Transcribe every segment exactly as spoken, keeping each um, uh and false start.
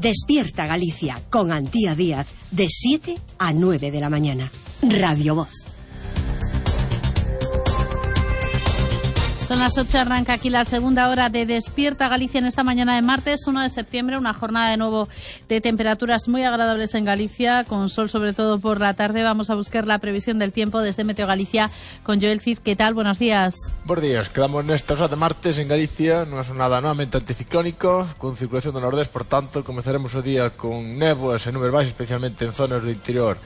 Despierta Galicia con Antía Díaz de siete a nueve de la mañana. Radio Voz. Son las ocho, arranca aquí la segunda hora de Despierta Galicia en esta mañana de martes uno de septiembre, una jornada de nuevo de temperaturas muy agradables en Galicia, con sol sobre todo por la tarde. Vamos a buscar la previsión del tiempo desde Meteo Galicia con Joel Cid. ¿Qué tal? Buenos días. Buenos días, quedamos nesta hora de martes en Galicia, nunha jornada novamente anticiclónico, con circulación do nordés, por tanto, comezaremos o día con néboas e nubes baixas, especialmente en zonas do interior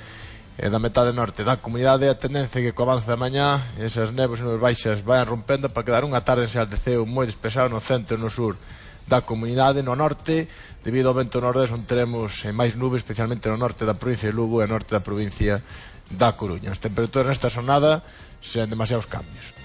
e da metade norte da comunidade. A tendencia que co avance da mañá esas néboas e nubes baixas vayan rompendo para quedar unha tarde en xeral de ceo moi despexado no centro e no sur da comunidade. No norte, debido ao vento nordés, onde teremos máis nubes, especialmente no norte da provincia de Lugo e no norte da provincia da Coruña. As temperaturas nesta jornada sen demasiados cambios.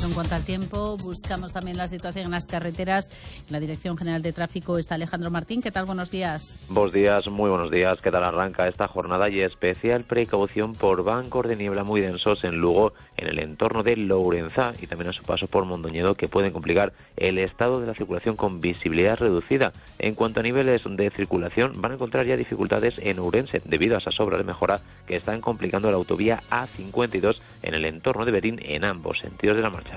En cuanto al tiempo, buscamos también la situación en las carreteras. En la Dirección General de Tráfico está Alejandro Martín. ¿Qué tal? Buenos días. Buenos días, muy buenos días. ¿Qué tal arranca esta jornada? Y especial precaución por bancos de niebla muy densos en Lugo, en el entorno de Lourenzá y también a su paso por Mondoñedo, que pueden complicar el estado de la circulación con visibilidad reducida. En cuanto a niveles de circulación, van a encontrar ya dificultades en Ourense debido a esas obras de mejora que están complicando la autovía A cincuenta y dos en el entorno de Berín en ambos sentidos de la marcha.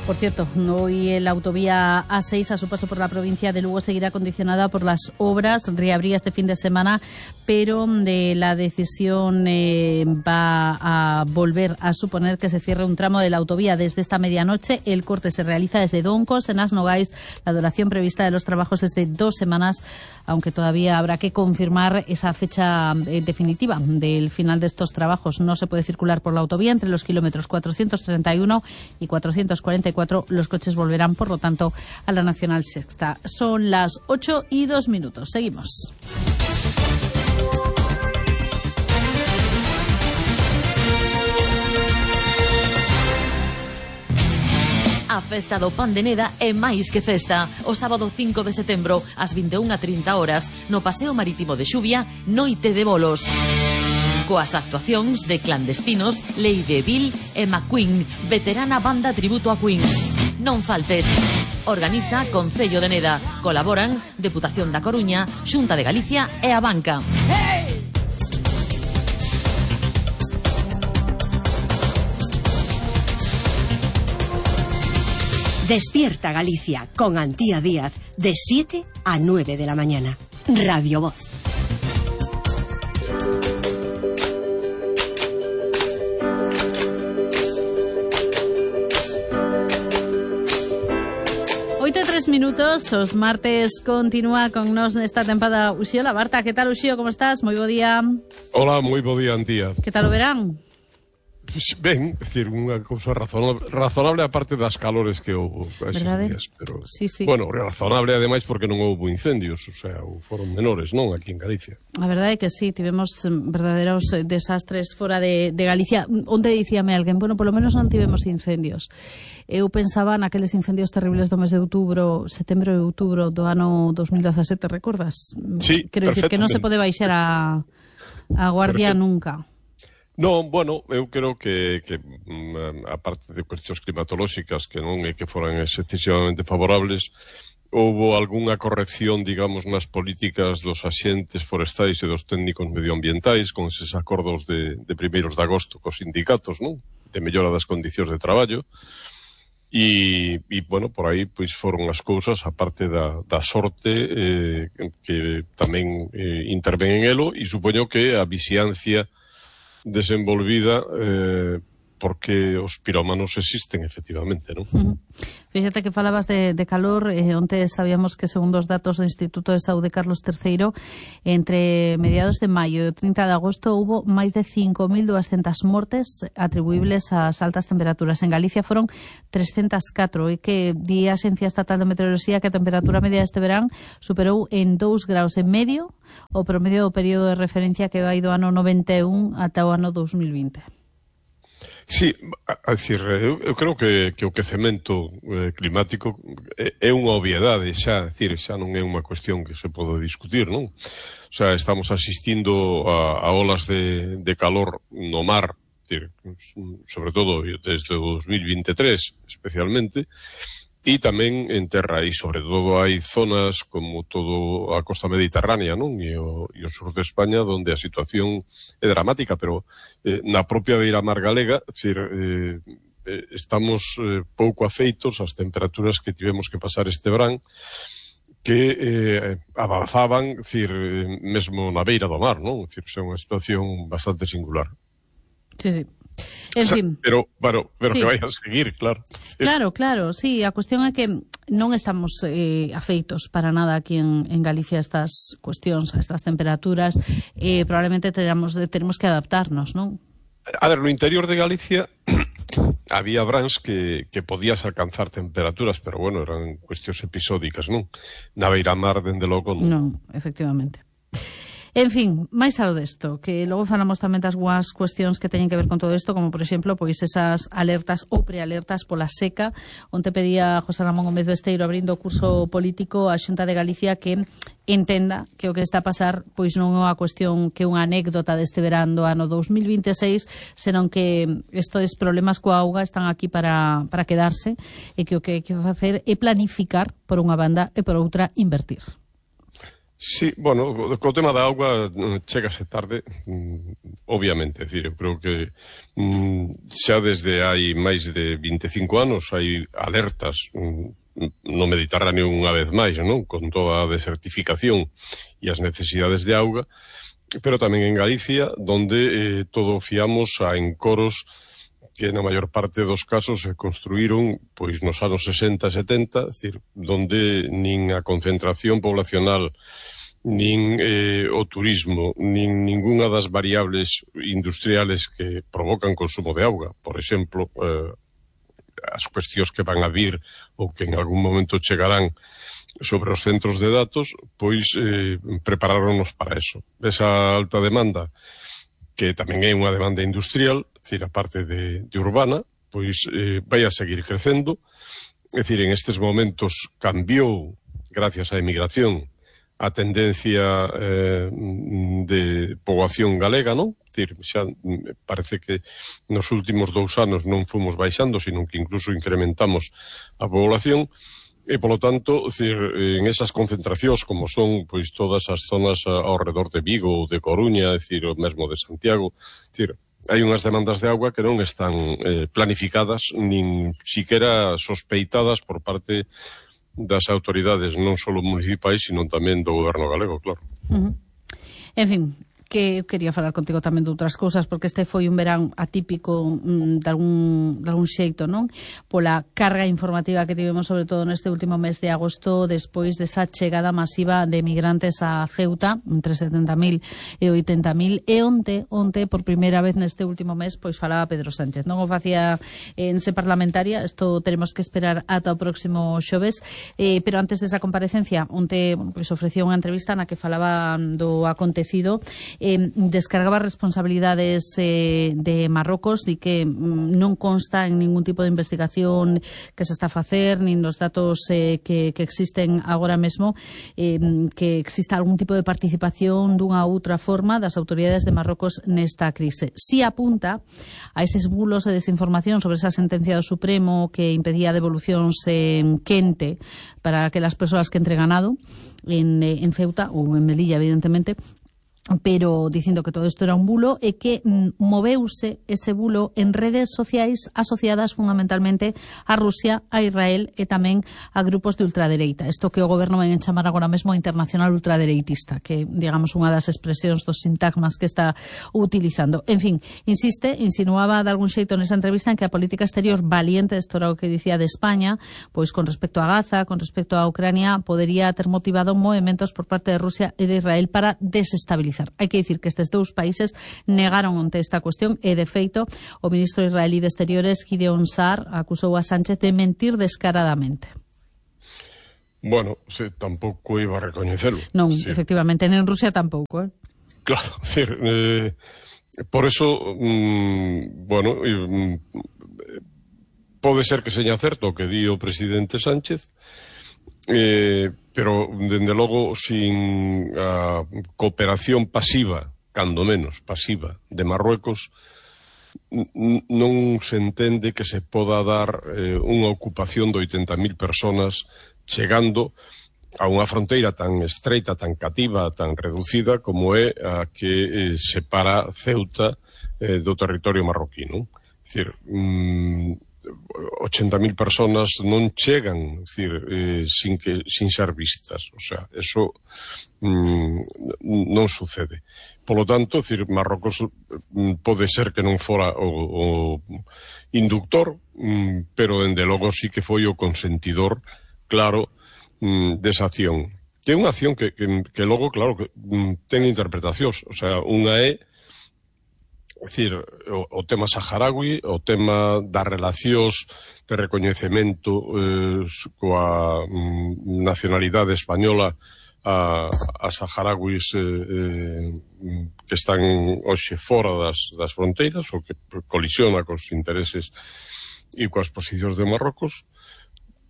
Por cierto, hoy la autovía A seis a su paso por la provincia de Lugo seguirá condicionada por las obras. Reabría este fin de semana, pero de la decisión eh, va a volver a suponer que se cierre un tramo de la autovía desde esta medianoche. El corte se realiza desde Doncos, en Asnogais. La duración prevista de los trabajos es de dos semanas, aunque todavía habrá que confirmar esa fecha eh, definitiva del final de estos trabajos. No se puede circular por la autovía entre los kilómetros cuatrocientos treinta y uno y cuatrocientos cuarenta y cuatro. Los coches volverán, por lo tanto, a la Nacional Sexta. Son las ocho y dos minutos. Seguimos. A festa do Pan de Neda é máis que festa. O sábado cinco de setembro, ás vinte e unha e trinta horas, no Paseo Marítimo de Xuvia, Noite de Bolos. Coas actuacións de Clandestinos, Lady Bill e McQueen, veterana banda tributo a Queen. Non faltes. Organiza Concello de Neda. Colaboran Deputación da Coruña, Xunta de Galicia e a Banca. Hey! Despierta Galicia con Antía Díaz de siete a nueve de la mañana. Radio Voz. oito e tres minutos, os martes continúa con nos nesta tempada Uxío Labarta. Que tal, Uxío? Como estás? Moi bo día. Hola, moi bo día, Antía. Que tal o verán? Pues ben, é dicir, unha cousa razonable, razonable a parte das calores que houve eses días, pero sí, sí. Bueno, razonable ademais porque non houve incendios, o sea, foron menores, non, aquí en Galicia. A verdade é que sí, tivemos verdadeiros desastres fora de, de Galicia. Onde dicíame alguén, bueno, polo menos non tivemos incendios. Eu pensaba naqueles incendios terribles do mes de outubro, setembro e outubro do ano dos mil dezasete, recordas? Sí, quero dicir que non se pode baixar a, a guardia Perfecto. Nunca. Non, bueno, eu creo que, que a parte de cuestións climatolóxicas que non é que foran excesivamente favorables, houbo algunha corrección, digamos, nas políticas dos axentes forestais e dos técnicos medioambientais con eses acordos de, de primeiros de agosto cos sindicatos, non? De mellora das condicións de traballo. E, e bueno, por aí pois foron as cousas, a parte da, da sorte eh, que tamén eh, interven en elo, e supoño que a vixiancia desenvolvida eh, porque os pirómanos existen efectivamente, non? Uh-huh. Fíxate que falabas de, de calor, eh, onte sabíamos que segundo os datos do Instituto de Saúde Carlos terceiro, entre mediados de maio e o trinta de agosto hubo máis de cinco mil doscientas mortes atribuíbles ás altas temperaturas. En Galicia foron trescentas catro, e que di a Axencia Estatal de Meteoroloxía que a temperatura media deste verán superou en dous graus e medio o promedio do período de referencia que vai do ano noventa e un ata o ano dos mil vinte. Sí, a decir, eu, eu creo que, que o quecemento eh, climático é, é unha obviedade xa, decir, xa non é unha cuestión que se pode discutir, non? O sea, estamos asistindo a, a olas de, de calor no mar, decir, sobre todo desde o dos mil vinte e tres, especialmente, e tamén en terra, e sobre todo hai zonas como todo a costa mediterránea, non? E o, e o sur de España, onde a situación é dramática, pero eh, na propia beiramar galega, decir, eh, estamos eh, pouco afeitos ás temperaturas que tivemos que pasar este verán, que eh, avanzaban, decir, eh, mesmo na beira do mar, non? Decir, é unha situación bastante singular. Sí, sí. En fin. Pero, pero, pero sí. que vai a seguir, claro. Claro, claro, sí. A cuestión é que non estamos eh, afeitos para nada aquí en, en Galicia a estas cuestións, a estas temperaturas. Eh, probablemente teremos, teremos que adaptarnos, non? A ver, no interior de Galicia había brans que, que podías alcanzar temperaturas, pero bueno, eran cuestións episódicas, non? Na beiramar, dende logo, non. Non, efectivamente. En fin, máis algo desto, que logo falamos tamén das guas cuestións que teñen que ver con todo isto, como por exemplo, pois esas alertas ou prealertas pola seca, onde pedía José Ramón Gómez Besteiro abrindo o curso político a Xunta de Galicia que entenda que o que está a pasar pois non é unha cuestión que unha anécdota deste verán do ano dos mil vinte e seis, senón que estes problemas coa auga están aquí para, para quedarse e que o que hai que facer é planificar por unha banda e por outra invertir. Sí, bueno, co tema da auga chegase tarde, mm, obviamente, é dicir, eu creo que mm, xa desde hai máis de vinte e cinco anos hai alertas mm, no Mediterráneo unha vez máis, non? Con toda a desertificación e as necesidades de auga, pero tamén en Galicia, donde eh, todo fiamos a encoros que na maior parte dos casos se construíron pois nos anos sesenta e setenta, é dicir, donde nin a concentración poblacional, nin eh, o turismo, nin ningunha das variables industriales que provocan consumo de auga, por exemplo, eh, as cuestións que van a vir ou que en algún momento chegarán sobre os centros de datos, pois eh, prepararonnos para eso. Esa alta demanda, que tamén é unha demanda industrial, é dicir, a parte de, de urbana, pois eh, vai a seguir crecendo. É dicir, en estes momentos cambiou, gracias á emigración, a tendencia eh, de poboación galega, non? É dicir, xa parece que nos últimos dous anos non fomos baixando, sino que incluso incrementamos a población. E, polo tanto, decir, en esas concentracións, como son pois todas as zonas ao redor de Vigo ou de Coruña, decir, o mesmo de Santiago, decir, hai unhas demandas de auga que non están eh, planificadas, nin siquiera sospeitadas por parte das autoridades, non só municipais, sino tamén do goberno galego, claro. Uh-huh. En fin, que eu quería falar contigo tamén de outras cousas, porque este foi un verán atípico mm, de, algún, de algún xeito, non? Pola carga informativa que tivemos, sobre todo neste último mes de agosto, despois desa chegada masiva de migrantes a Ceuta, entre setenta mil e oitenta mil, e onte, onte, por primeira vez neste último mes, pois falaba Pedro Sánchez. Non o facía en se parlamentaria, isto teremos que esperar ata o próximo xoves, eh, pero antes desa comparecencia, onte, bueno, pois ofrecía unha entrevista na que falaba do acontecido. Eh, descargaba responsabilidades eh, de Marrocos e que mm, non consta en ningún tipo de investigación que se está a facer, nin nos datos eh, que, que existen agora mesmo, eh, que exista algún tipo de participación dunha outra forma das autoridades de Marrocos nesta crise. Si apunta a eses bulos e desinformación sobre esa sentencia do Supremo que impedía devolucións en quente para aquelas persoas que entren ganado en, en Ceuta ou en Melilla, evidentemente, pero dicindo que todo isto era un bulo e que mm, moveuse ese bulo en redes sociais asociadas fundamentalmente a Rusia, a Israel e tamén a grupos de ultradereita. Isto que o goberno vai chamar agora mesmo a internacional ultradereitista, que digamos unha das expresións dos sintagmas que está utilizando. En fin, insiste, insinuaba de algún xeito nesa entrevista en que a política exterior valiente, isto era o que dicía de España, pois con respecto a Gaza, con respecto a Ucrania, podería ter motivado movementos por parte de Rusia e de Israel para desestabilizar. Hai que dicir que estes dous países negaron onte esta cuestión e, de feito, o ministro israelí de Exteriores, Gideon Saar, acusou a Sánchez de mentir descaradamente. Bueno, sí, tampouco iba a recoñecelo. Non, sí. Efectivamente, en Rusia tampouco, eh? Claro, decir, eh, por eso, mmm, bueno, eh, pode ser que seña certo o que di o presidente Sánchez, eh, pero, dende logo, sin a cooperación pasiva, cando menos pasiva, de Marruecos, non se entende que se poda dar eh, unha ocupación de oitenta mil personas chegando a unha fronteira tan estreita, tan cativa, tan reducida como é a que eh, separa Ceuta eh, do territorio marroquí, non? É dicir, mm, oitenta mil personas non chegan, é dicir, eh, sin, que, sin ser vistas, o sea, eso mm, non sucede. Polo tanto, é dicir, Marrocos mm, pode ser que non fora o, o inductor, mm, pero dende logo sí que foi o consentidor, claro, desa acción. Que é unha acción que, que, que logo, claro, que ten interpretacións. O sea, unha é, é dicir, o, o tema saharaui, o tema das relacións de recoñecemento eh, coa mm, nacionalidade española a, a saharauis eh, eh, que están hoxe fora das, das fronteiras ou que colisiona cos intereses e coas posicións de Marrocos.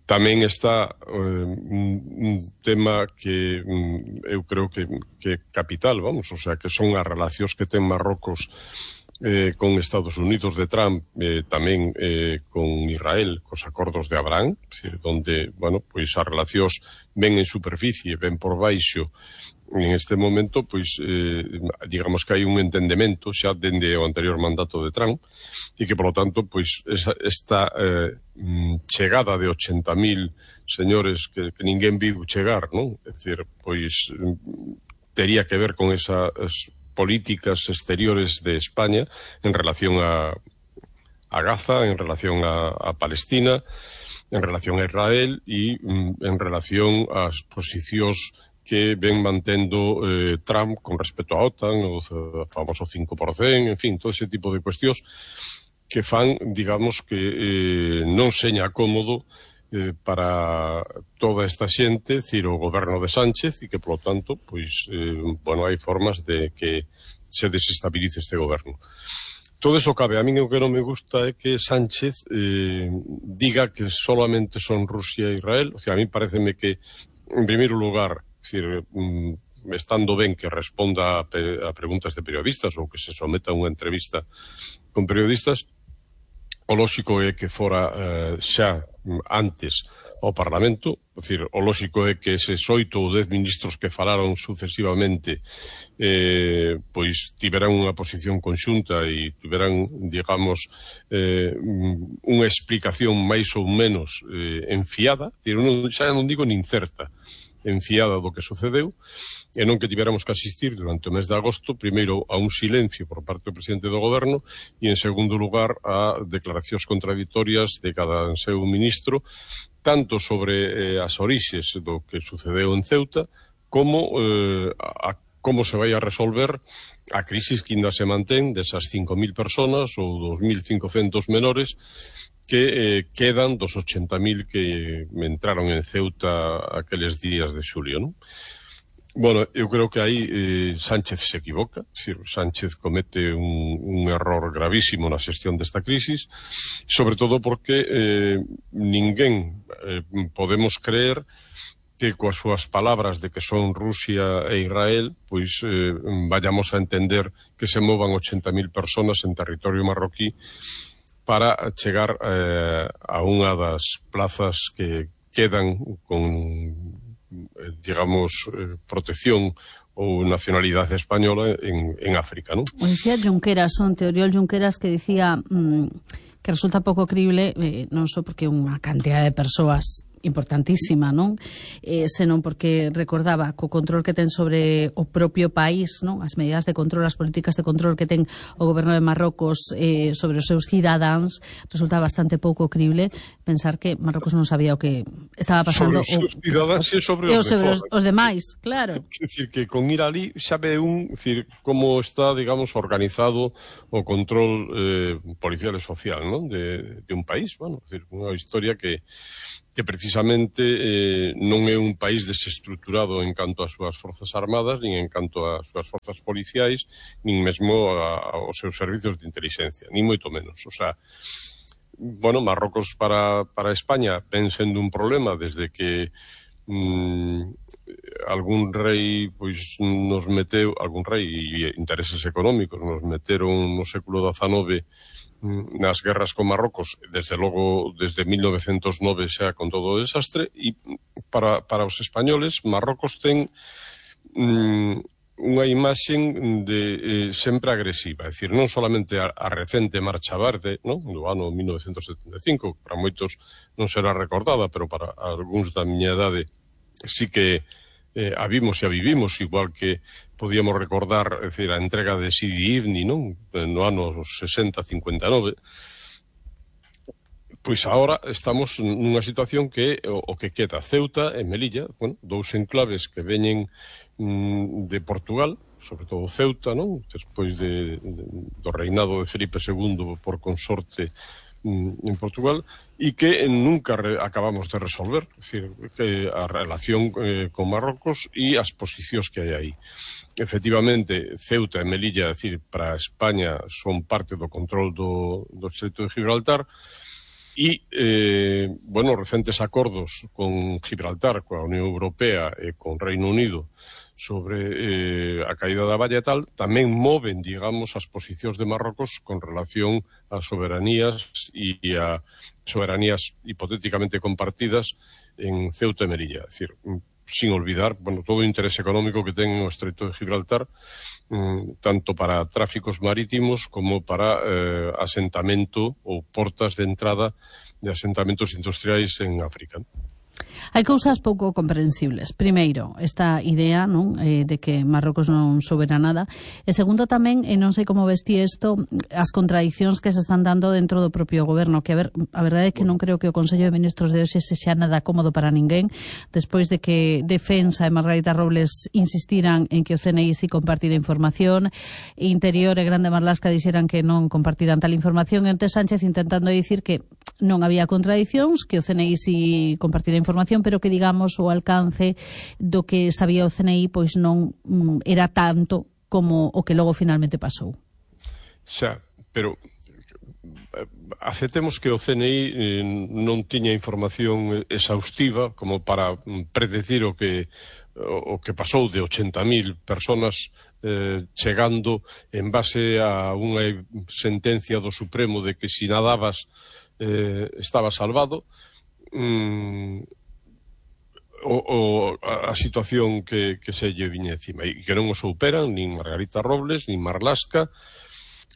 Tamén está eh, un, un tema que um, eu creo que, que é capital, vamos, o sea, que son as relacións que ten Marrocos eh, con Estados Unidos de Trump, eh, tamén eh, con Israel, cos acordos de Abraham, decir, donde, bueno, pois as relacións ven en superficie, ven por baixo. En este momento, pois, eh, digamos que hai un entendemento xa dende o anterior mandato de Trump e que, polo tanto, pois, esa, esta eh, chegada de oitenta mil señores que, que ninguén viu chegar, non? É dicir, pois, tería que ver con esas políticas exteriores de España en relación a, a Gaza, en relación a, a Palestina, en relación a Israel e en relación ás posicións que ven mantendo eh, Trump con respecto a OTAN, o famoso cinco por cento, en fin, todo ese tipo de cuestións que fan, digamos, que eh, non seña cómodo eh, para toda esta xente, decir, o goberno de Sánchez, e que, polo tanto, pois, eh, bueno, hai formas de que se desestabilice este goberno. Todo eso cabe. A mí o que non me gusta é que Sánchez eh, diga que solamente son Rusia e Israel. O sea, a mí pareceme que, en primeiro lugar, es decir, estando ben que responda a, pe a preguntas de periodistas ou que se someta a unha entrevista con periodistas, o lóxico é que fora eh, xa antes ao Parlamento, é dicir, o lóxico é que eses oito ou dez ministros que falaron sucesivamente eh, pois tiveran unha posición conxunta e tiveran, digamos, eh, unha explicación máis ou menos eh, enfiada, é dicir, non, xa non digo nin certa, enfiada do que sucedeu, e non que tivéramos que asistir durante o mes de agosto, primeiro a un silencio por parte do presidente do goberno e, en segundo lugar, a declaracións contradictorias de cada seu ministro, tanto sobre eh, as orixes do que sucedeu en Ceuta, como eh, a como se vai a resolver a crisis que ainda se mantén desas cinco mil personas ou dos mil cincocentos menores que eh, quedan dos oitenta mil que entraron en Ceuta aqueles días de xulio, non? Bueno, eu creo que aí eh, Sánchez se equivoca, é dicir, Sánchez comete un, un error gravísimo na xestión desta crisis, sobre todo porque eh, ninguén eh, podemos creer que coas súas palabras de que son Rusia e Israel, pois eh, vayamos a entender que se movan oitenta mil personas en territorio marroquí para chegar eh, a unha das plazas que quedan con, eh, digamos, eh, protección ou nacionalidade española en, en África, non? O dicía Junqueras, son Teoriol Junqueras, que dicía mmm, que resulta pouco crible, eh, non só porque unha cantidad de persoas importantísima, non? Eh, senón porque recordaba co control que ten sobre o propio país, non? As medidas de control, as políticas de control que ten o goberno de Marrocos eh, sobre os seus cidadáns, resulta bastante pouco crible pensar que Marrocos non sabía o que estaba pasando sobre os seus cidadáns e sobre os, os, sobre os, os demais, claro. É dicir, que con ir ali xa ve un, dicir, como está, digamos, organizado o control eh, policial e social, non? De, de un país, bueno, dicir, unha historia que que precisamente eh, non é un país desestruturado en canto ás súas forzas armadas, nin en canto ás súas forzas policiais, nin mesmo a, aos seus servizos de inteligencia, nin moito menos. O sea, bueno, Marrocos para, para España ven sendo un problema desde que mm, algún rei pois nos meteu, algún rei e intereses económicos nos meteron no século dezanove nas guerras con Marrocos, desde logo desde mil novecentos nove xa con todo o desastre, e para, para os españoles Marrocos ten mm, unha imaxe de eh, sempre agresiva, é dicir, non solamente a, a recente Marcha Verde, non? Do ano mil novecentos setenta e cinco, para moitos non será recordada, pero para algúns da miña idade sí que eh, a vimos e a vivimos, igual que podíamos recordar, é dicir, a entrega de Sidi Ifni, non? No ano sesenta cincuenta e nove. Pois agora estamos nunha situación que o, o que queda Ceuta e Melilla, bueno, dous enclaves que veñen mm, de Portugal, sobre todo Ceuta, non? Despois de, de, do reinado de Felipe segundo por consorte en Portugal, e que nunca re, acabamos de resolver, é dicir, que a relación eh, con Marrocos e as posicións que hai aí. Efectivamente, Ceuta e Melilla, é dicir, para España son parte do control do, do Estreito de Gibraltar, e, eh, bueno, recentes acordos con Gibraltar, coa Unión Europea e con Reino Unido sobre eh, a caída da valla e tal, tamén moven, digamos, as posicións de Marrocos con relación ás soberanías e a soberanías hipotéticamente compartidas en Ceuta e Melilla. É dicir, sin olvidar, bueno, todo o interés económico que ten o Estreito de Gibraltar, mm, tanto para tráficos marítimos como para eh, asentamento ou portas de entrada de asentamentos industriais en África. Hai cousas pouco comprensibles. Primeiro, esta idea, non, eh, de que Marrocos non soubera nada. E segundo tamén, e non sei como vesti isto, as contradicións que se están dando dentro do propio goberno, que a ver, a verdade é que non creo que o Consello de Ministros de hoxe se xa nada cómodo para ninguén, despois de que Defensa e Margarita Robles insistiran en que o C N I si compartira información, Interior e Grande Marlaska dixeran que non compartiran tal información, e onte Sánchez intentando dicir que non había contradicións, que o C N I si compartira información, pero que, digamos, o alcance do que sabía o C N I pois non mm, era tanto como o que logo finalmente pasou. Xa, pero aceptemos que o C N I eh, non tiña información exhaustiva como para predecir o que o, o que pasou de ochenta mil personas eh, chegando en base a unha sentencia do Supremo de que si nadabas eh, estaba salvado. Mm, O, o, a situación que, que se lle viña encima e que non o superan nin Margarita Robles, nin Marlaska,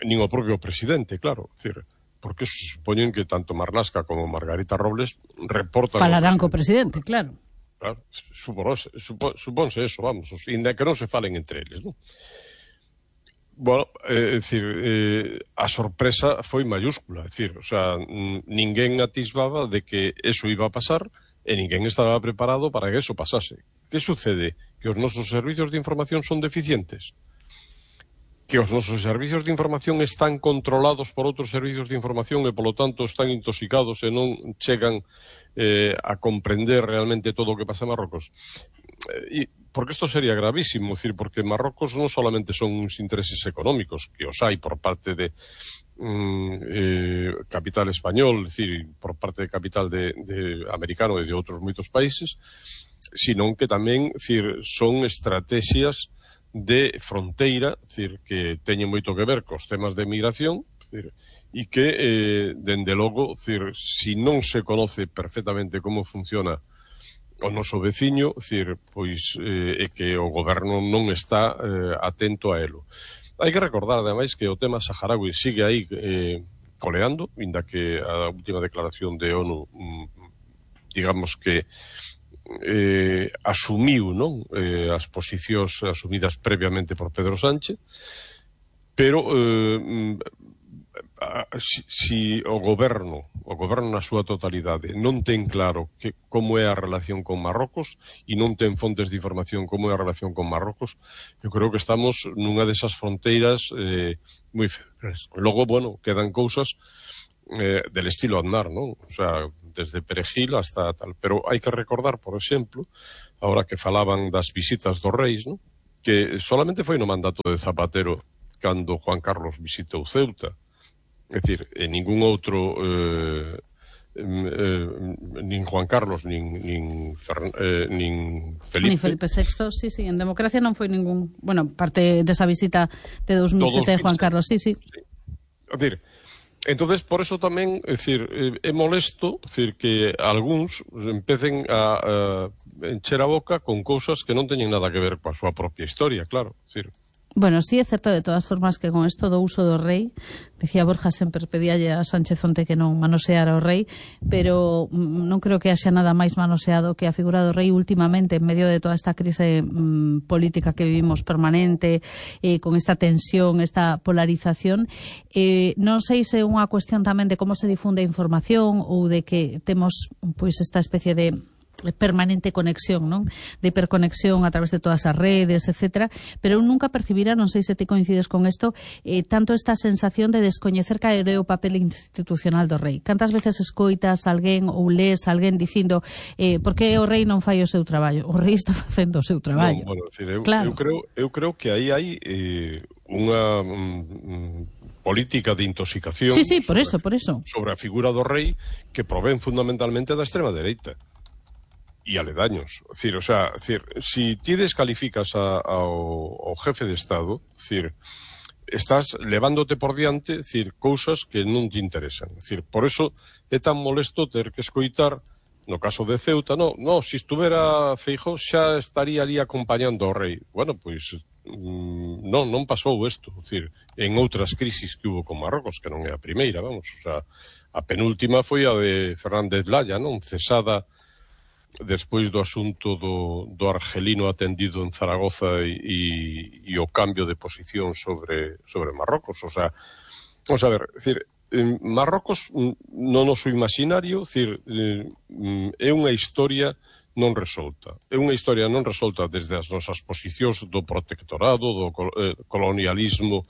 nin o propio presidente, claro, decir, porque se supoñen que tanto Marlaska como Margarita Robles reportan... Falarán co presidente, claro. Claro, supónse, supónse eso, vamos, inda que non se falen entre eles, non? Bueno, é eh, dicir, eh, a sorpresa foi mayúscula, é dicir, o sea, ninguén atisbaba de que eso iba a pasar e ninguén estaba preparado para que eso pasase. Que sucede? Que os nosos servizos de información son deficientes. Que os nosos servizos de información están controlados por outros servizos de información e, polo tanto, están intoxicados e non chegan eh, a comprender realmente todo o que pasa en Marrocos. E, porque isto sería gravísimo, decir, porque Marrocos non solamente son uns intereses económicos, que os hai por parte de Mm, eh, capital español, es decir, por parte de capital de, de americano e de outros moitos países, sino que tamén, decir, son estrategias de fronteira, decir, que teñen moito que ver cos temas de migración, decir, e que, eh, dende logo, decir, si non se conoce perfectamente como funciona o noso veciño, decir, pois eh, é que o goberno non está eh, atento a elo. Hai que recordar, ademais, que o tema saharaui sigue aí eh, coleando, inda que a última declaración de ONU, mm, digamos que eh, asumiu, non, eh, as posicións asumidas previamente por Pedro Sánchez, pero eh, si, si o goberno, o goberno na súa totalidade non ten claro que, como é a relación con Marrocos e non ten fontes de información como é a relación con Marrocos, eu creo que estamos nunha desas fronteiras eh, moi febres. Logo, bueno, quedan cousas eh, del estilo Aznar, non? O sea, desde Perejil hasta tal. Pero hai que recordar, por exemplo, ahora que falaban das visitas dos reis, non? Que solamente foi no mandato de Zapatero cando Juan Carlos visitou Ceuta. É dicir, en ningún outro eh, eh, nin Juan Carlos nin, nin, Fern, eh, nin Felipe Ni Felipe sexto, sí, sí, en democracia non foi ningún, bueno, parte desa visita de dos mil sete de Juan Carlos, sí, sí, sí. A decir, entonces por eso tamén, é dicir, é molesto, é dicir, que algúns empecen a, a encher a boca con cousas que non teñen nada que ver coa súa propia historia, claro, é dicir. Bueno, sí é certo de todas formas que con isto do uso do rei, dicía Borja, sempre pedíalle a Sánchez Onte que non manoseara o rei, pero non creo que haxa nada máis manoseado que a figura do rei últimamente en medio de toda esta crise mmm, política que vivimos permanente, eh, con esta tensión, esta polarización. Eh, non sei se é unha cuestión tamén de como se difunde a información ou de que temos pois esta especie de permanente conexión, non? De hiperconexión a través de todas as redes, etcétera, pero eu nunca percibira, non sei se ti coincides con isto, eh, tanto esta sensación de descoñecer cal é o papel institucional do rei. Cantas veces escoitas alguén ou lees alguén dicindo eh, por que o rei non fai o seu traballo? O rei está facendo o seu traballo. No, bueno, decir, eu, claro. eu, creo, eu creo que aí hai eh, unha mm, política de intoxicación sí, sí, por sobre, eso, por eso. sobre a figura do rei que provén fundamentalmente da extrema dereita e aledaños. Es decir, o sea, es decir, si ti descalificas a, a, ao, ao jefe de Estado, es decir, estás levándote por diante, es decir, cousas que non te interesan. Es decir, por eso é tan molesto ter que escoitar, no caso de Ceuta, no, no, si estuvera Feijóo xa estaría ali acompañando ao rei. Bueno, pois mmm, non, non pasou isto, es decir, en outras crisis que hubo con Marrocos, que non é a primeira, vamos, o sea, a penúltima foi a de Fernández Laya, non, cesada despois do asunto do, do argelino atendido en Zaragoza e, e, e o cambio de posición sobre, sobre Marrocos. O sea, vamos a ver, decir, Marrocos no noso imaginario, decir, é unha historia non resolta. É unha historia non resolta desde as nosas posicións do protectorado, do colonialismo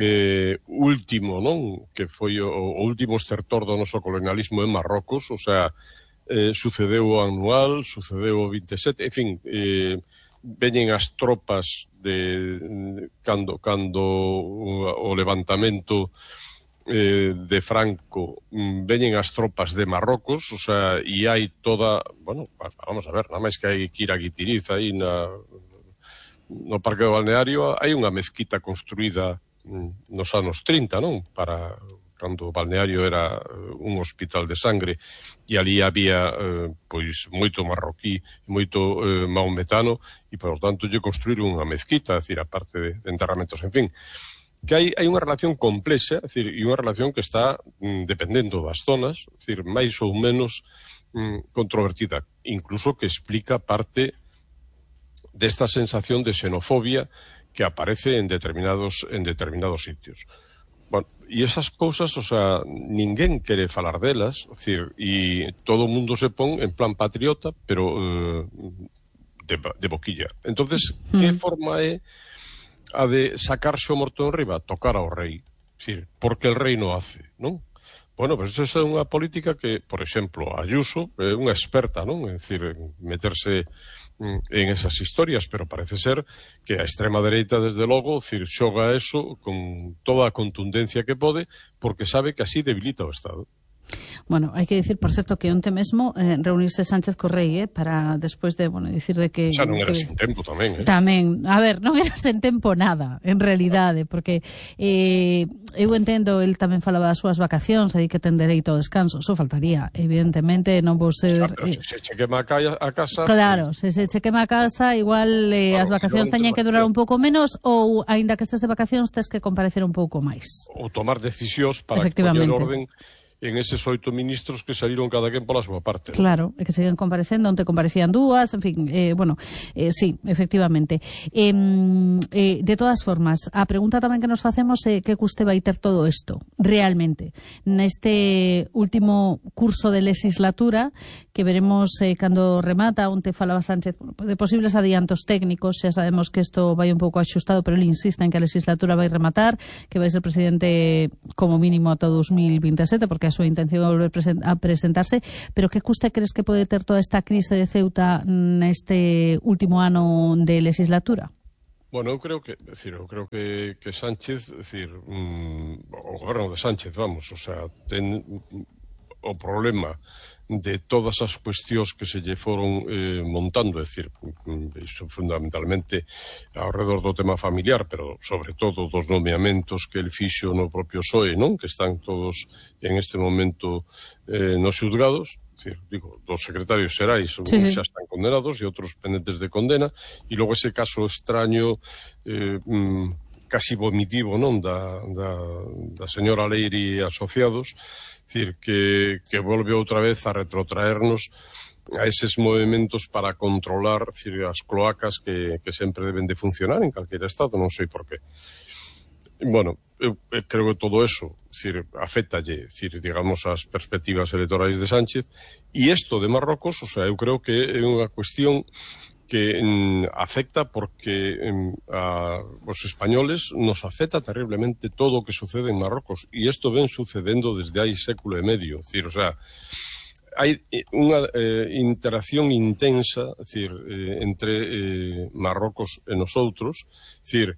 eh, último, non? Que foi o, o último estertor do noso colonialismo en Marrocos, o sea, Eh, sucedeu o anual, sucedeu o vinte e sete, en fin, eh, veñen as tropas de cando, cando o, o levantamento eh, de Franco, veñen as tropas de Marrocos, o sea, e hai toda, bueno, vamos a ver, nada máis que hai que ir a Guitiriz, aí na, no Parque do Balneario, hai unha mezquita construída nos anos trinta, non? Para cando o balneario era un hospital de sangre e ali había eh, pois moito marroquí, moito eh, maometano e, por tanto, lle construíron unha mezquita, é dicir, a parte de, de enterramentos, en fin, que hai, hai unha relación complexa, é dicir, e unha relación que está mm, dependendo das zonas, é dicir, máis ou menos mm, controvertida, incluso que explica parte desta sensación de xenofobia que aparece en determinados, en determinados sitios. Bueno, e esas cousas, o sea, ninguén quere falar delas, é dicir, e todo o mundo se pon en plan patriota, pero eh, de, de boquilla. Entonces, mm. que forma é a de sacarse o morto en riba? Tocar ao rei. É dicir, porque el rei non hace, non? Bueno, pues esa é unha política que, por exemplo, Ayuso é unha experta, non? É dicir, meterse en esas historias, pero parece ser que a extrema dereita, desde logo, decir, xoga eso con toda a contundencia que pode, porque sabe que así debilita o Estado. Bueno, hai que dicir, por certo, que onte mesmo eh, reunirse Sánchez co rei, eh, para despois de, bueno, dicir de que... Xa non era que, sen tempo tamén, eh? Tamén, a ver, non era sen tempo nada, en realidade, porque eh, eu entendo, el tamén falaba das súas vacacións, aí que ten dereito ao descanso, só faltaría, evidentemente, non vou ser... Xa, pero se se che quema a casa... Claro, se se che quema a casa, igual eh, claro, as vacacións teñen que durar un pouco menos, ou, aínda que estes de vacacións, tes que comparecer un pouco máis. Ou tomar decisións para que poñer orden en eses oito ministros que saíron cada quen pola súa parte. Claro, e que siguen comparecendo, onde comparecían dúas, en fin, eh, bueno, eh, sí, efectivamente. Eh, eh, de todas formas, a pregunta tamén que nos facemos é que custe vai ter todo isto, realmente, neste último curso de legislatura, que veremos eh, cando remata, onde falaba Sánchez, bueno, de posibles adiantos técnicos, xa sabemos que isto vai un pouco axustado, pero ele insiste en que a legislatura vai rematar, que vai ser presidente como mínimo ata o dos mil vinte e sete, porque a súa intención é volver a presentarse, pero que custe crees que pode ter toda esta crise de Ceuta neste último ano de legislatura? Bueno, eu creo que, decir, eu creo que, que Sánchez, decir, mm, o goberno de Sánchez, vamos, o sea, ten o problema de todas as cuestións que se lle foron eh, montando, é dicir, iso fundamentalmente ao redor do tema familiar, pero sobre todo dos nomeamentos que el fixo no propio P S O E, non? Que están todos en este momento eh, nos xulgados, decir, digo, dos secretarios xerais, sí, sí. Xa están condenados e outros pendentes de condena, e logo ese caso extraño eh, mm, casi vomitivo, non, da, da, da señora Leiri e asociados, decir, que, que volve outra vez a retrotraernos a eses movimentos para controlar, decir, as cloacas que, que sempre deben de funcionar en calquera estado, non sei por qué. Bueno, eu, eu creo que todo eso, decir, afectalle, decir, digamos, as perspectivas electorais de Sánchez, e isto de Marrocos, o sea, eu creo que é unha cuestión que mm, afecta porque mm, a os españoles nos afecta terriblemente todo o que sucede en Marrocos, e isto ven sucedendo desde hai século e medio, decir, o sea, hai unha eh, interacción intensa, decir, eh, entre eh, Marrocos e nosotros, decir,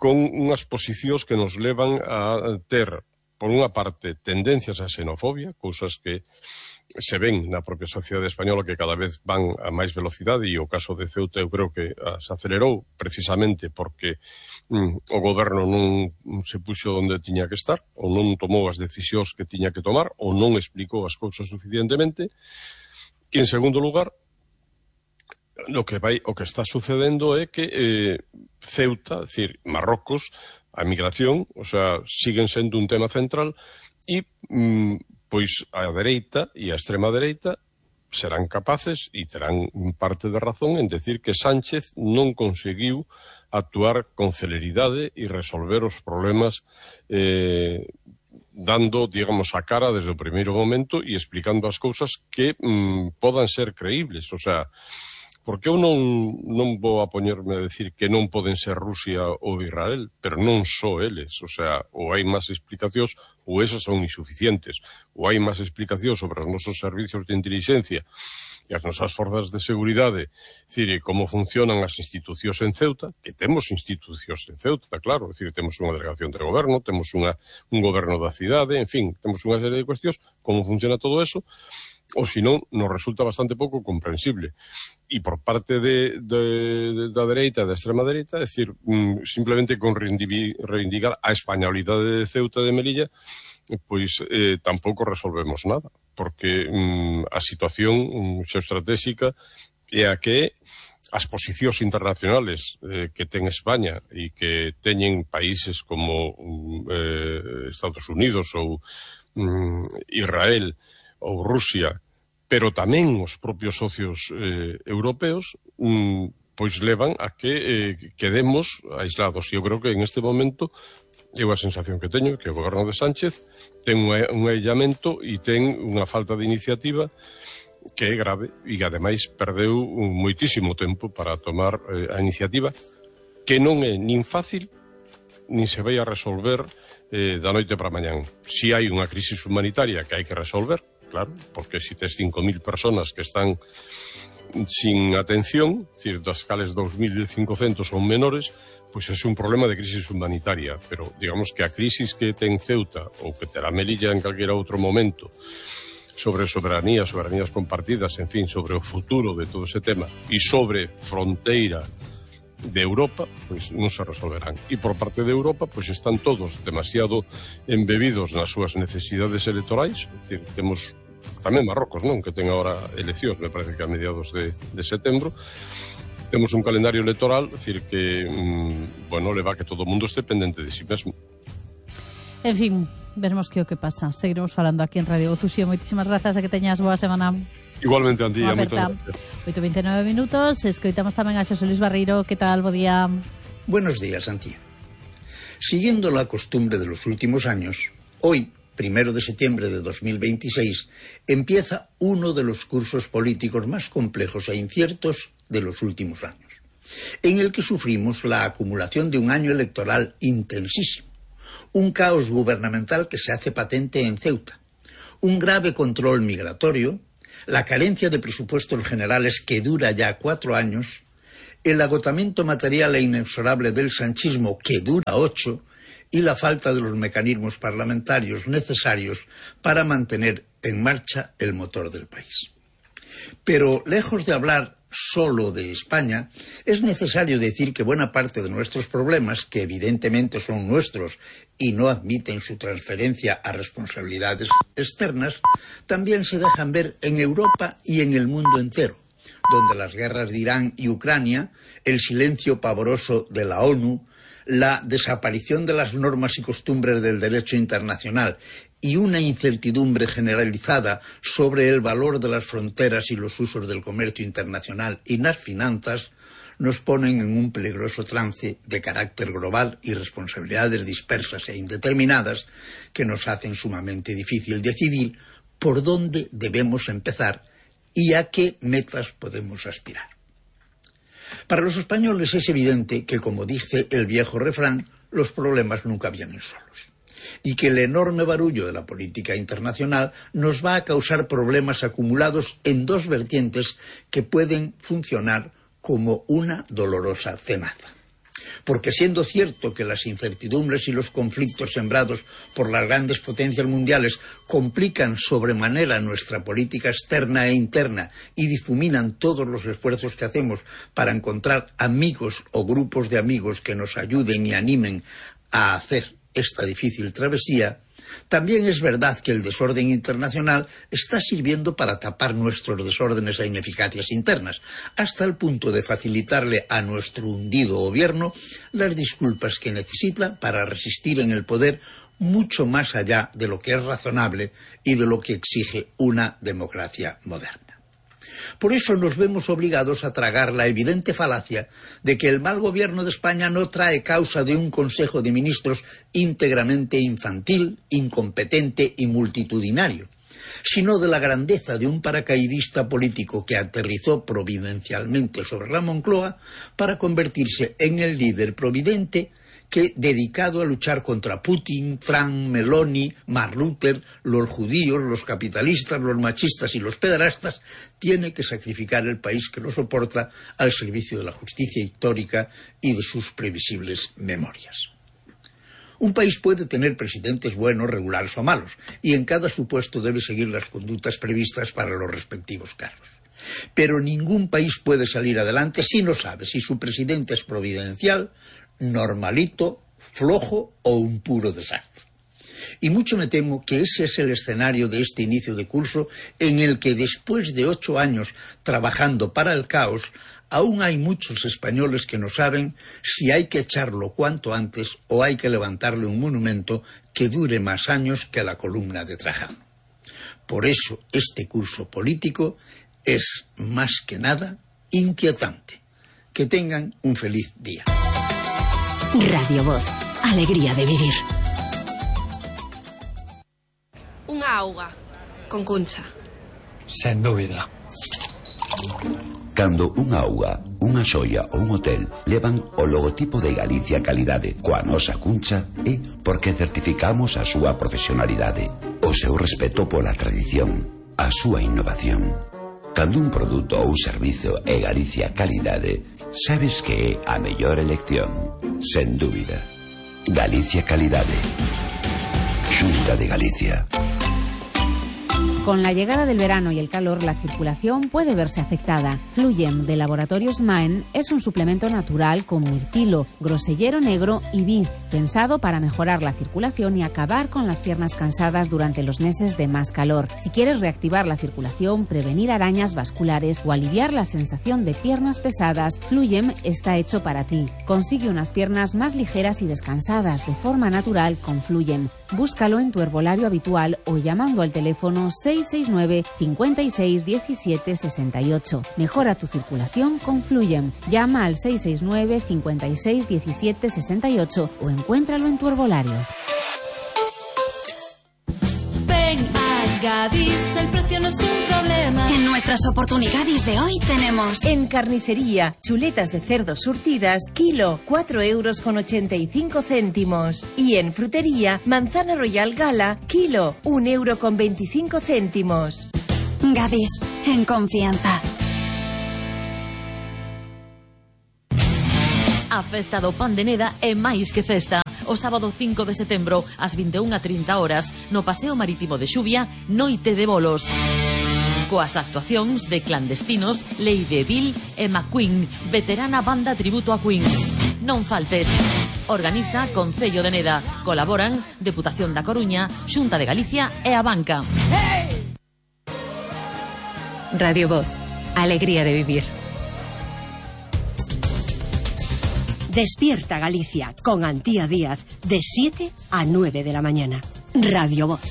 con unhas posicións que nos levan a ter, por unha parte, tendencias a xenofobia, cousas que se ven na propia sociedade española que cada vez van a máis velocidade, e o caso de Ceuta eu creo que se acelerou precisamente porque mm, o goberno non se puxo onde tiña que estar, ou non tomou as decisións que tiña que tomar, ou non explicou as cousas suficientemente. E en segundo lugar, o que vai, o que está sucedendo é que eh, Ceuta, é dicir, Marrocos, a migración, o sea, siguen sendo un tema central, e mm, pois a dereita e a extrema dereita serán capaces e terán parte de razón en decir que Sánchez non conseguiu actuar con celeridade e resolver os problemas eh, dando, digamos, a cara desde o primeiro momento e explicando as cousas que mm, podan ser creíbles, o sea, porque eu non, non vou a poñerme a decir que non poden ser Rusia ou Israel, pero non só eles, o sea, ou hai máis explicacións ou esas son insuficientes, ou hai máis explicacións sobre os nosos servicios de inteligencia e as nosas forzas de seguridade, decir, como funcionan as institucións en Ceuta, que temos institucións en Ceuta, claro, decir, temos unha delegación de goberno, temos unha, un goberno da cidade, en fin, temos unha serie de cuestións, como funciona todo eso, ou senón nos resulta bastante pouco comprensible. E por parte de, de, de, da dereita e da extrema dereita, é dicir, mm, simplemente con reivindicar a españolidade de Ceuta e de Melilla, pois eh, tampouco resolvemos nada, porque mm, a situación mm, xeoestratégica é a que as posicións internacionales eh, que ten España e que teñen países como eh, Estados Unidos ou mm, Israel ou Rusia, pero tamén os propios socios eh, europeos, mm, pois levan a que eh, quedemos aislados. E eu creo que en este momento é a sensación que teño, que o goberno de Sánchez ten un, un aillamento e ten unha falta de iniciativa que é grave e que ademais perdeu moitísimo tempo para tomar eh, a iniciativa, que non é nin fácil nin se vai a resolver eh, da noite para mañán. Si hai unha crisis humanitaria que hai que resolver, claro, porque si tes cinco mil personas que están sin atención, decir, das cales dos mil cincocentos son menores, pois é un problema de crisis humanitaria, pero digamos que a crisis que ten Ceuta ou que terá Melilla en calquera outro momento sobre soberanía, soberanías compartidas, en fin, sobre o futuro de todo ese tema e sobre fronteira de Europa, pois non se resolverán. E por parte de Europa, pois están todos demasiado embebidos nas súas necesidades electorais, é dicir, temos tamén Marrocos, non, que ten agora eleccións, me parece que a mediados de, de setembro, temos un calendario electoral, é dicir, que, mmm, bueno, leva que todo o mundo este pendente de si mesmo. En fin, veremos que o que pasa. Seguiremos falando aquí en Radio Fusión. Moitísimas grazas e que teñas boa semana. Igualmente, Antía, moitas gracias. oito e veintinueve minutos, escoitamos tamén a Xosé Luis Barreiro. Que tal? Bo día. Buenos días, Antía. Siguiendo la costumbre de los últimos años, hoy, primero de septiembre de dos mil veintiséis, empieza uno de los cursos políticos más complejos e inciertos de los últimos años, en el que sufrimos la acumulación de un año electoral intensísimo, un caos gubernamental que se hace patente en Ceuta, un grave control migratorio, la carencia de presupuestos generales que dura ya cuatro años, el agotamiento material e inexorable del sanchismo que dura ocho, y la falta de los mecanismos parlamentarios necesarios para mantener en marcha el motor del país. Pero lejos de hablar solo de España, es necesario decir que buena parte de nuestros problemas, que evidentemente son nuestros y no admiten su transferencia a responsabilidades externas, también se dejan ver en Europa y en el mundo entero, donde las guerras de Irán y Ucrania, el silencio pavoroso de la ONU, la desaparición de las normas y costumbres del derecho internacional y una incertidumbre generalizada sobre el valor de las fronteras y los usos del comercio internacional y las finanzas, nos ponen en un peligroso trance de carácter global y responsabilidades dispersas e indeterminadas que nos hacen sumamente difícil decidir por dónde debemos empezar y a qué metas podemos aspirar. Para los españoles es evidente que, como dice el viejo refrán, los problemas nunca vienen solos, y que el enorme barullo de la política internacional nos va a causar problemas acumulados en dos vertientes que pueden funcionar como una dolorosa cenaza. Porque siendo cierto que las incertidumbres y los conflictos sembrados por las grandes potencias mundiales complican sobremanera nuestra política externa e interna y difuminan todos los esfuerzos que hacemos para encontrar amigos o grupos de amigos que nos ayuden y animen a hacer esta difícil travesía, también es verdad que el desorden internacional está sirviendo para tapar nuestros desórdenes e ineficacias internas, hasta el punto de facilitarle a nuestro hundido gobierno las disculpas que necesita para resistir en el poder mucho más allá de lo que es razonable y de lo que exige una democracia moderna. Por eso nos vemos obligados a tragar la evidente falacia de que el mal gobierno de España no trae causa de un Consejo de Ministros íntegramente infantil, incompetente y multitudinario, sino de la grandeza de un paracaidista político que aterrizó providencialmente sobre la Moncloa para convertirse en el líder providente que, dedicado a luchar contra Putin, Trump, Meloni, Mark Rutte, los judíos, los capitalistas, los machistas y los pederastas, tiene que sacrificar el país que lo soporta al servicio de la justicia histórica y de sus previsibles memorias. Un país puede tener presidentes buenos, regulares o malos, y en cada supuesto debe seguir las conductas previstas para los respectivos casos. Pero ningún país puede salir adelante si no sabe si su presidente es providencial, normalito, flojo o un puro desastre. Y mucho me temo que ese es el escenario de este inicio de curso, en el que después de ocho años trabajando para el caos, aún hay muchos españoles que no saben si hay que echarlo cuanto antes o hay que levantarle un monumento que dure más años que la columna de Trajano. Por eso este curso político es más que nada inquietante. Que tengan un feliz día. Radio Voz, alegría de vivir. Unha auga, con Cuncha. Sen dúbida. Cando unha auga, unha xoia ou un hotel levan o logotipo de Galicia Calidade coa nosa Cuncha, é porque certificamos a súa profesionalidade, o seu respeto pola tradición, a súa innovación. Cando un produto ou servizo é Galicia Calidade, sabes que é a mellor elección, sen dúbida. Galicia Calidade. Xunta de Galicia. Con la llegada del verano y el calor, la circulación puede verse afectada. Fluyem de Laboratorios Maen es un suplemento natural con mirtilo, grosellero negro y vid, pensado para mejorar la circulación y acabar con las piernas cansadas durante los meses de más calor. Si quieres reactivar la circulación, prevenir arañas vasculares o aliviar la sensación de piernas pesadas, Fluyem está hecho para ti. Consigue unas piernas más ligeras y descansadas de forma natural con Fluyem. Búscalo en tu herbolario habitual o llamando al teléfono seis seis nueve, cinco seis, diecisiete, sesenta y ocho. Mejora tu circulación con Fluyem. Llama al seis seis nueve, cinco seis, diecisiete, sesenta y ocho o encuéntralo en tu herbolario. Ven a Gadis, el precio no es un problema. En nuestras oportunidades de hoy tenemos: en carnicería, chuletas de cerdo surtidas, kilo, cuatro euros con ochenta y cinco céntimos. Y en frutería, manzana royal gala, kilo, un euro con veinticinco céntimos. Gadis, en confianza. A festa do pan de Neda é máis que festa. O sábado cinco de setembro, ás vinte e unha e trinta horas, no Paseo Marítimo de Xuvia, Noite de Bolos. Coas actuacións de Clandestinos, Lady Bill e McQueen, veterana banda tributo a Queen. Non faltes. Organiza Concello de Neda. Colaboran Deputación da Coruña, Xunta de Galicia e a Banca. Radio Voz. Alegría de vivir. Despierta Galicia con Antía Díaz de siete a nueve de la mañana. Radio Voz.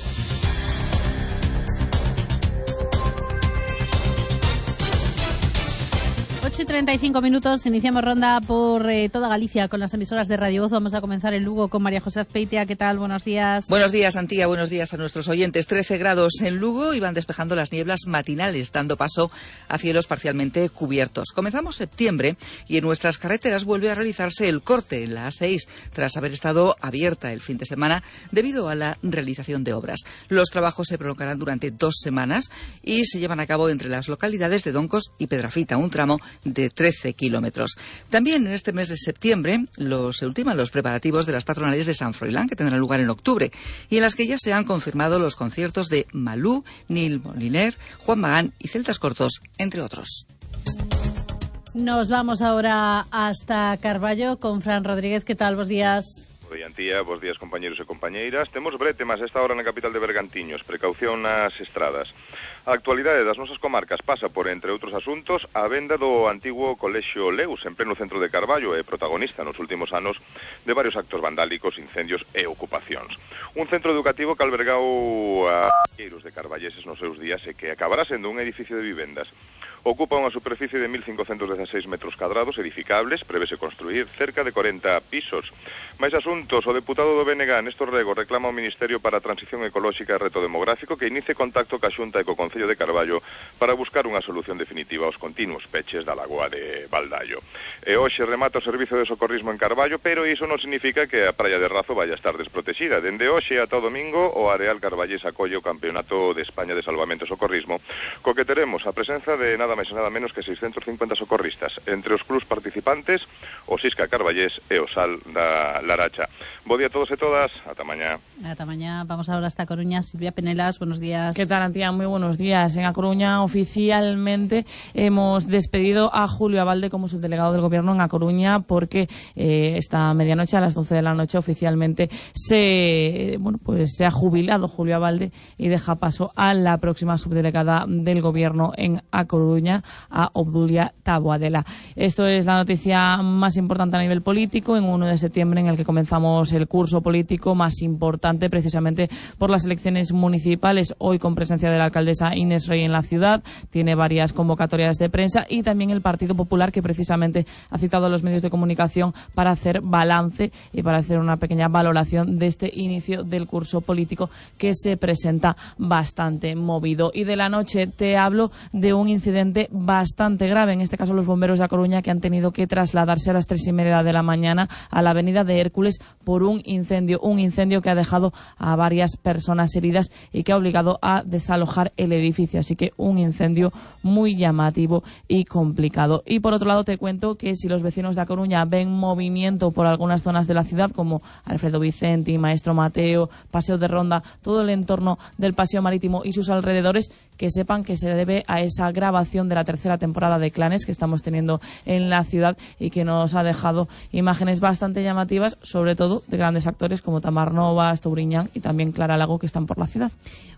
ocho y treinta y cinco minutos, iniciamos ronda por eh, toda Galicia con las emisoras de Radio Voz. Vamos a comenzar en Lugo con María José Azpeitia. ¿Qué tal? Buenos días. Buenos días, Antía. Buenos días a nuestros oyentes. trece grados en Lugo y van despejando las nieblas matinales, dando paso a cielos parcialmente cubiertos. Comenzamos septiembre y en nuestras carreteras vuelve a realizarse el corte en la A seis, tras haber estado abierta el fin de semana debido a la realización de obras. Los trabajos se prolongarán durante dos semanas y se llevan a cabo entre las localidades de Doncos y Pedrafita, un tramo de trece kilómetros. También en este mes de septiembre los, se ultiman los preparativos de las patronales de San Froilán, que tendrán lugar en octubre, y en las que ya se han confirmado los conciertos de Malú, Nil Moliner, Juan Magán y Celtas Cortos, entre otros. Nos vamos ahora hasta Carballo con Fran Rodríguez. ¿Qué tal? Buenos días. Bo día, Antía, bos días, compañeros e compañeiras. Temos brete, mas esta hora na capital de Bergantiños, precaución nas estradas. A actualidade das nosas comarcas pasa por, entre outros asuntos, a venda do antigo Colexio Leus, en pleno centro de Carballo, e protagonista nos últimos anos de varios actos vandálicos, incendios e ocupacións. Un centro educativo que albergou a queiros de carballeses nos seus días e que acabará sendo un edificio de vivendas. Ocupa unha superficie de mil cincocentos dezaseis metros cadrados edificables, prevese construir cerca de corenta pisos. Mais asuntos, o deputado do B N G, Néstor Rego, reclama ao Ministerio para a Transición Ecolóxica e Reto Demográfico que inicie contacto ca Xunta e co Concello de Carballo para buscar unha solución definitiva aos continuos peches da lagoa de Baldallo. E hoxe remata o servizo de socorrismo en Carballo, pero iso non significa que a praia de Razo vaya a estar desprotexida. Dende hoxe ata o domingo, o Areal Carballés acolle o Campeonato de España de Salvamento e Socorrismo, co que teremos a presenza de nada máis e nada menos que seiscentos cincuenta socorristas, entre os clubs participantes, o Sisca Carballés e o Sal da Laracha. Bo día a todos e todas, ata mañá. Ata mañá, vamos ahora hasta Coruña. Silvia Penelas, buenos días. ¿Qué tal, Antía? Muy buenos días. En A Coruña oficialmente hemos despedido a Julio Abalde como subdelegado del Gobierno en A Coruña porque eh, esta medianoche, a las doce de la noche, oficialmente se, bueno, pues se ha jubilado Julio Abalde y deja paso a la próxima subdelegada del Gobierno en A Coruña, a Obdulia Taboadela. Esto es la noticia más importante a nivel político en uno de septiembre, en el que comenzamos el curso político más importante precisamente por las elecciones municipales, hoy con presencia de la alcaldesa Inés Rey en la ciudad. Tiene varias convocatorias de prensa y también el Partido Popular, que precisamente ha citado a los medios de comunicación para hacer balance y para hacer una pequeña valoración de este inicio del curso político, que se presenta bastante movido. Y de la noche te hablo de un incidente bastante grave, en este caso los bomberos de A Coruña, que han tenido que trasladarse a las tres y media de la mañana a la avenida de Hércules por un incendio, un incendio que ha dejado a varias personas heridas y que ha obligado a desalojar el edificio, así que un incendio muy llamativo y complicado. Y por otro lado te cuento que si los vecinos de A Coruña ven movimiento por algunas zonas de la ciudad, como Alfredo Vicente, Maestro Mateo, Paseo de Ronda, todo el entorno del Paseo Marítimo y sus alrededores, que sepan que se debe a esa grabación de la tercera temporada de Clanes que estamos teniendo en la ciudad y que nos ha dejado imágenes bastante llamativas, sobre todo de grandes actores como Tamar Novas, Touriñán y también Clara Lago, que están por la ciudad.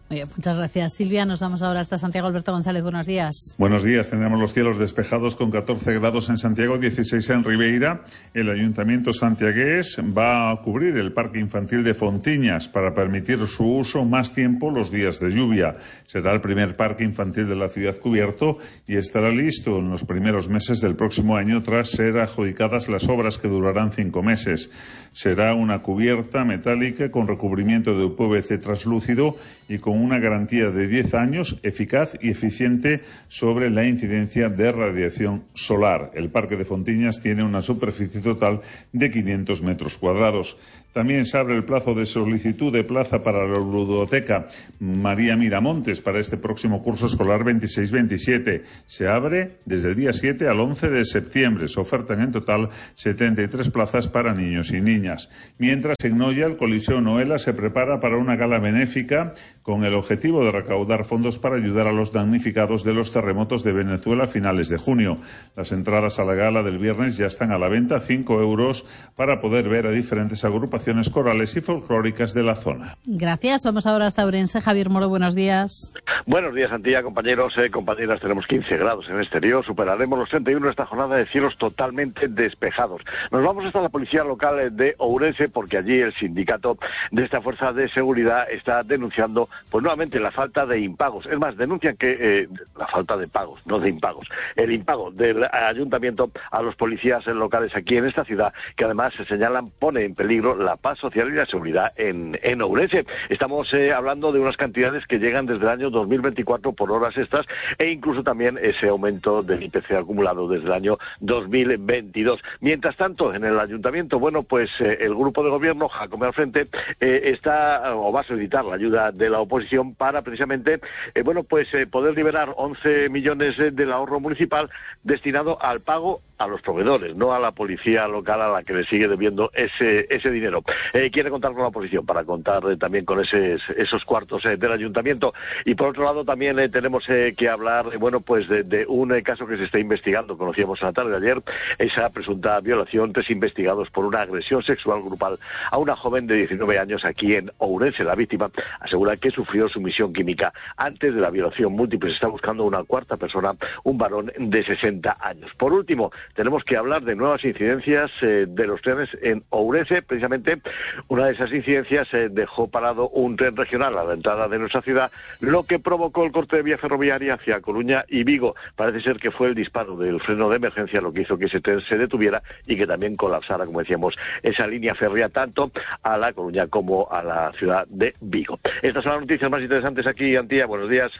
Muy bien, muchas gracias, Silvia. Nos vamos ahora hasta Santiago. Alberto González, buenos días. Buenos días. Tendremos los cielos despejados con catorce grados en Santiago, dieciséis en Ribeira. El Ayuntamiento santiagués va a cubrir el Parque Infantil de Fontiñas para permitir su uso más tiempo los días de lluvia. Será el primer parque infantil de la ciudad cubierto y estará listo en los primeros meses del próximo año, tras ser adjudicadas las obras, que durarán cinco meses. Será una cubierta metálica con recubrimiento de P V C translúcido y con una garantía de diez años, eficaz y eficiente sobre la incidencia de radiación solar. El Parque de Fontiñas tiene una superficie total de quinientos metros cuadrados. También se abre el plazo de solicitud de plaza para la ludoteca María Miramontes para este próximo curso escolar veintiséis veintisiete. Se abre desde el día siete al once de septiembre. Se ofertan en total setenta y tres plazas para niños y niñas. Mientras, en Noia, el Coliseo Noela se prepara para una gala benéfica con el objetivo de recaudar fondos para ayudar a los damnificados de los terremotos de Venezuela a finales de junio. Las entradas a la gala del viernes ya están a la venta, cinco euros, para poder ver a diferentes agrupaciones corales y folclóricas de la zona. Gracias. Vamos ahora hasta Ourense. Javier Moro, buenos días. Buenos días, Antía, compañeros, eh, compañeras. Tenemos quince grados en el exterior. Superaremos los treinta y uno esta jornada de cielos totalmente despejados. Nos vamos hasta la policía local de Ourense porque allí el sindicato de esta fuerza de seguridad está denunciando pues nuevamente la falta de impagos. Es más, denuncian que eh, la falta de pagos, no de impagos. El impago del ayuntamiento a los policías locales aquí en esta ciudad, que además se señalan pone en peligro la paz social y la seguridad en, en Ourense. Estamos eh, hablando de unas cantidades que llegan desde el año dos mil veinticuatro por horas extras e incluso también ese aumento del I P C acumulado desde el año dos mil veintidós. Mientras tanto, en el ayuntamiento, bueno, pues eh, el grupo de gobierno, Jacome al frente, eh, está o va a solicitar la ayuda de la oposición para precisamente, eh, bueno, pues eh, poder liberar once millones eh, del ahorro municipal destinado al pago a los proveedores, no a la policía local a la que le sigue debiendo ese ese dinero. Eh, quiere contar con la oposición para contar eh, también con ese, esos cuartos eh, del ayuntamiento. Y por otro lado también eh, tenemos eh, que hablar, eh, bueno, pues de, de un eh, caso que se está investigando. Conocíamos en la tarde de ayer esa presunta violación, tres investigados por una agresión sexual grupal a una joven de diecinueve años aquí en Ourense. La víctima asegura que sufrió sumisión química antes de la violación múltiple. Se está buscando una cuarta persona, un varón de sesenta años. Por último, tenemos que hablar de nuevas incidencias eh, de los trenes en Ourense. Precisamente una de esas incidencias eh, dejó parado un tren regional a la entrada de nuestra ciudad, lo que provocó el corte de vía ferroviaria hacia Coruña y Vigo. Parece ser que fue el disparo del freno de emergencia lo que hizo que ese tren se detuviera y que también colapsara, como decíamos, esa línea férrea tanto a La Coruña como a la ciudad de Vigo. Estas son las noticias más interesantes aquí, Antía. Buenos días.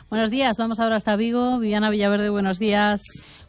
Buenos días. Vamos ahora hasta Vigo. Viviana Villaverde, buenos días.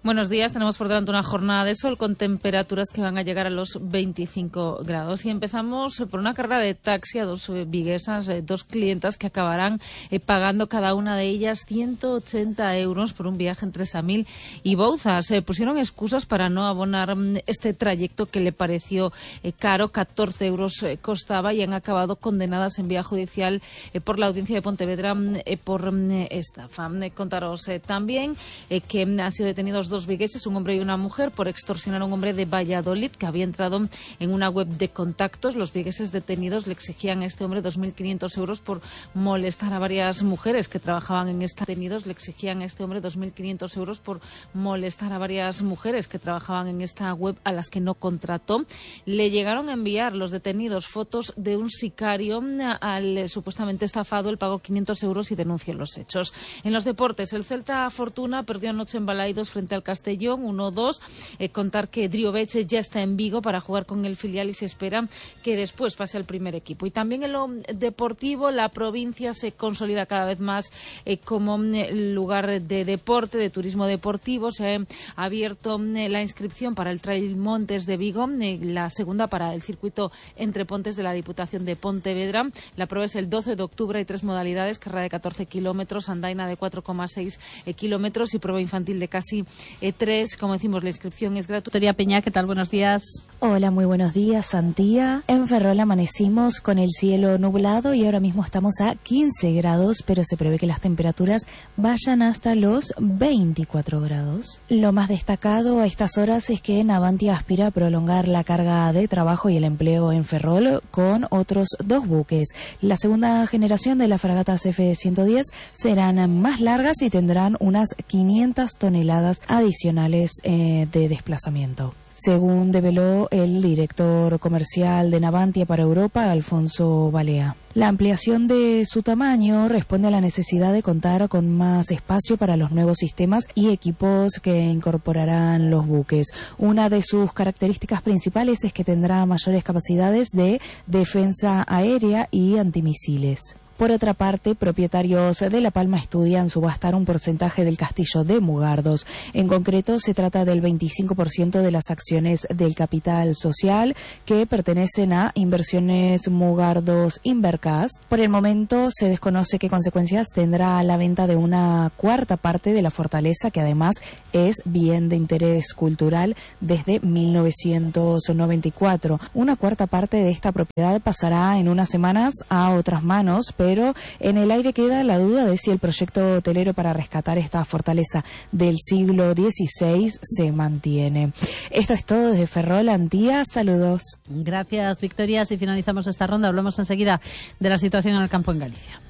Buenos días, tenemos por delante una jornada de sol con temperaturas que van a llegar a los veinticinco grados. Y empezamos por una carrera de taxi a dos eh, viguesas, eh, dos clientas que acabarán eh, pagando cada una de ellas ciento ochenta euros por un viaje entre Samil y Bouzas. Eh, pusieron excusas para no abonar mm, este trayecto que le pareció eh, caro, catorce euros eh, costaba, y han acabado condenadas en vía judicial eh, por la audiencia de Pontevedra eh, por mm, estafa. Eh, contaros eh, también eh, que mm, han sido detenidos dos vigueses, un hombre y una mujer, por extorsionar a un hombre de Valladolid que había entrado en una web de contactos. Los vigueses detenidos le exigían a este hombre dos mil quinientos euros por molestar a varias mujeres que trabajaban en esta detenidos le exigían a este hombre dos mil quinientos euros por molestar a varias mujeres que trabajaban en esta web a las que no contrató. Le llegaron a enviar los detenidos fotos de un sicario al eh, supuestamente estafado. Él pagó quinientos euros y denunció los hechos. En los deportes, el Celta Fortuna perdió anoche en Balaidos frente al Castellón uno dos. Eh, contar que Driobeche ya está en Vigo para jugar con el filial y se espera que después pase al primer equipo. Y también en lo deportivo, la provincia se consolida cada vez más eh, como eh, lugar de deporte, de turismo deportivo. Se ha abierto eh, la inscripción para el Trail Montes de Vigo, eh, la segunda para el circuito Entre Pontes de la Diputación de Pontevedra. La prueba es el doce de octubre, hay tres modalidades: carrera de catorce kilómetros, andaina de cuatro coma seis eh, kilómetros y prueba infantil de casi eh, tres. Como decimos, la inscripción es gratuita. Victoria Peña, ¿qué tal? Buenos días. Hola, muy buenos días, Santía. En Ferrol amanecimos con el cielo nublado y ahora mismo estamos a quince grados, pero se prevé que las temperaturas vayan hasta los veinticuatro grados. Lo más destacado a estas horas es que Navantia aspira a prolongar la carga de trabajo y el empleo en Ferrol con otros dos buques. La segunda generación de las fragatas F ciento diez serán más largas y tendrán unas quinientas toneladas adicionales eh, de desplazamiento. Según develó el director comercial de Navantia para Europa, Alfonso Balea. La ampliación de su tamaño responde a la necesidad de contar con más espacio para los nuevos sistemas y equipos que incorporarán los buques. Una de sus características principales es que tendrá mayores capacidades de defensa aérea y antimisiles. Por otra parte, propietarios de La Palma estudian subastar un porcentaje del castillo de Mugardos. En concreto, se trata del veinticinco por ciento de las acciones del capital social que pertenecen a Inversiones Mugardos Invercast. Por el momento, se desconoce qué consecuencias tendrá la venta de una cuarta parte de la fortaleza, que además es bien de interés cultural desde mil novecientos noventa y cuatro. Una cuarta parte de esta propiedad pasará en unas semanas a otras manos, pero en el aire queda la duda de si el proyecto hotelero para rescatar esta fortaleza del siglo dieciséis se mantiene. Esto es todo desde Ferrol, Antía. Saludos. Gracias, Victoria. Si finalizamos esta ronda, hablamos enseguida de la situación en el campo en Galicia.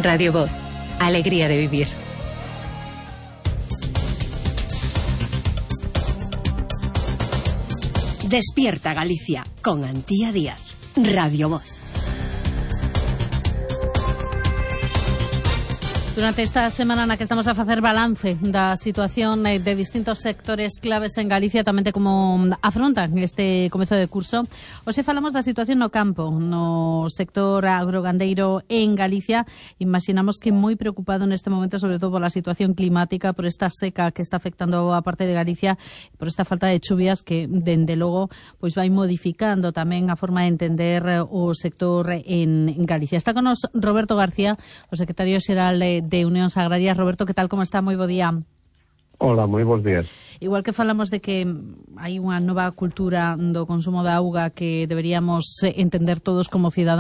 Radio Voz. Alegría de vivir. Despierta Galicia con Antía Díaz. Radio Voz. Durante esta semana na que estamos a facer balance da situación de distintos sectores claves en Galicia, tamén de como afrontan este comezo de curso, hoxe falamos da situación no campo, no sector agrogandeiro en Galicia. Imaginamos que moi preocupado neste momento, sobre todo pola situación climática, por esta seca que está afectando a parte de Galicia, por esta falta de chuvias que, dende logo, pois vai modificando tamén a forma de entender o sector en Galicia. Está con nos Roberto García, o secretario xeral de Unións Agrarias. Roberto, que tal, como está? Moi bo día. Hola, moi bons días. Igual que falamos de que hai unha nova cultura do consumo da auga que deberíamos entender todos como cidadáns,